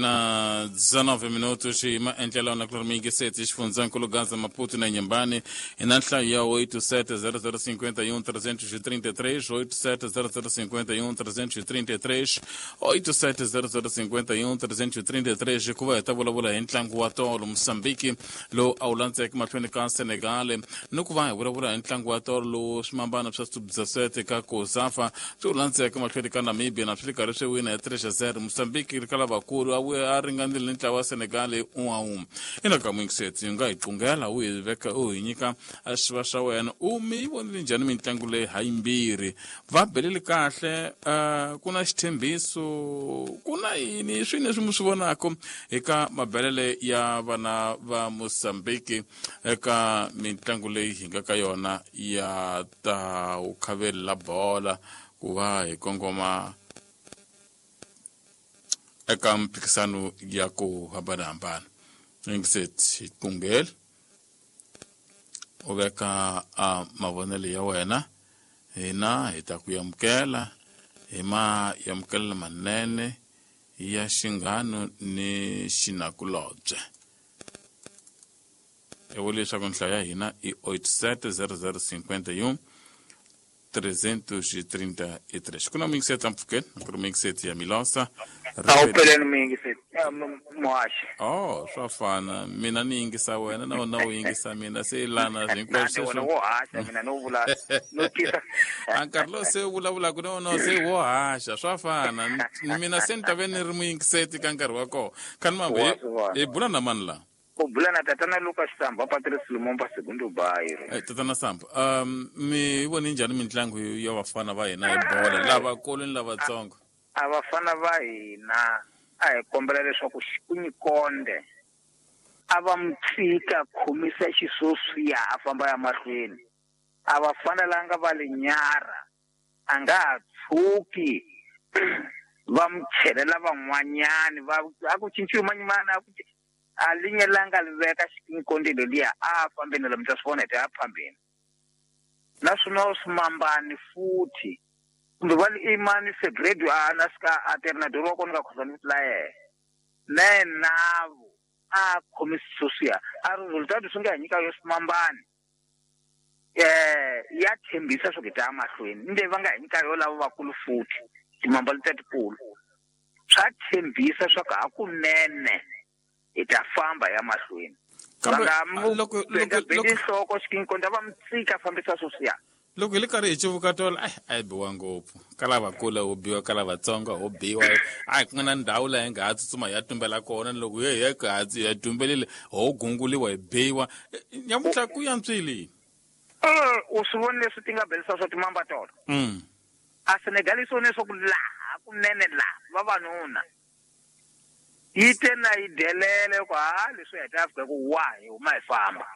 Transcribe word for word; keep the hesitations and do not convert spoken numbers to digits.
Na dezenove minutos e maendlelo na Clormingue sete xifundzankulu Gaza Maputo na Inhambane e na nhlayo ya oito sete zero zero cinquenta e um trezentos e trinta e três, oito sete zero zero cinquenta e um trezentos e trinta e três, oito sete zero zero cinquenta e um trezentos e trinta e três hikuva hi ta vulavula hi ntlangu wa tolo Mozambique lowu a wu landzeke mahlweni ka Senegal ni ku va hi vulavula hi ntlangu wa tolo lowu swimambana swa sub-dezesete ka COSAFA swi wu landzeke mahlweni ka Namibia na swi ri karhi swi wina hi três a zero. Mozambique ri ka lavakulu a a ringanile ni ntlawa wa Senegal hi un'we a un'we. Ina ka Mwingiseti u nga hi qungela u hi veka u hi nyika xiva xa wena u mi yi vonile njhani mitlangu leyi ha yimbirhi va beleli kahle uh, ku na xithembiso ku na yini swi leswi mi swi vonaka eka mabelele ya vana va Mozambique eka mitlangu leyi hi nga ka yona ya ta vukhaveli la bola ku va hi kongoma eka mphikisano ya ku hambanahambana. Yingiseti hi qungele u veka a mavonelo ya wena hina hi ta ku amukela hi ma amukela manene ya xinghano ni xinakulobye. I vula leswaku nhlayo ya hina i oito sete zero zero cinquenta e um trezentos e trinta e três. Ku na muyingiseti la mpfhukeni ku ri muyingiseti ya Milosa. A wu peleni muyingiseti muhaxi. Oh, swa fana mina ni yingisa wena na wena u yingisa mina se lana hinkwaswo wena wo haxa mina no vula no tisa a nkarhi lowu se u vulavulaka na wona se wo haxa swa fana mina se ni ta ve ni ri muyingiseti ka nkarhi wa kona khani mambe hi bula na mani la u bula na tatana Lucas Samba Patrice Lumumba Segundo Bairro. Eh tatana Samba, um mi vone njhani mitlangu ya vafana va hina hi bola lavakulu ni lavatsongo? A vafana va hina a hi kombela leswaku Xikunyikonde a va mu tshika khomisa xisoswiya a famba ya mahlweni. A va fanelanga va le nyara a nga ha tshuki va mu chelela van'wanyani va a ku cinciwi manyimana a ku a linyelanga li veka Xikunyikonde leliya a fambeni lomu ta swi vona hi ta ya phambeni. Naswona swimambani futhi kumbe va li imani Fegredo a na sika a ternador wa kona ka khosana vito la yena na yenavo a khomisa sweswiya a resultado swi nga hi nyika yo swimambani eh ya tshembisa swo ku ta mahlweni ni leyi va nga hi nyika yo lava vakulu futhi timamba letiya tikulu swa tshembisa swa ku hakunene hi ta famba ya mahlweni. Va nga mu loko benda loko bendi nhloko Xikunyikonde va mu tshika fambisa sweswiya. Loko hi le karhi hi civuka tolo ai a hi biwa ngopfu ka lavakulu ho biwa ka lavatsongo ho biwa a hi ku nga na ndhawu laha hi nga ha tsutsuma hi ya tumbela kona loko hi hi ha hi tumbelile ho gunguliwa hi biwa nyamuntlha ku yantswile. U swi voni leswi ti nga belisa swa timamba tolo mm a Senegal yi swi vone leswaku laha kunene laha vavanuna yi te na yi delele ku ha leswi hi ta fika ku wa hi huma hi famba.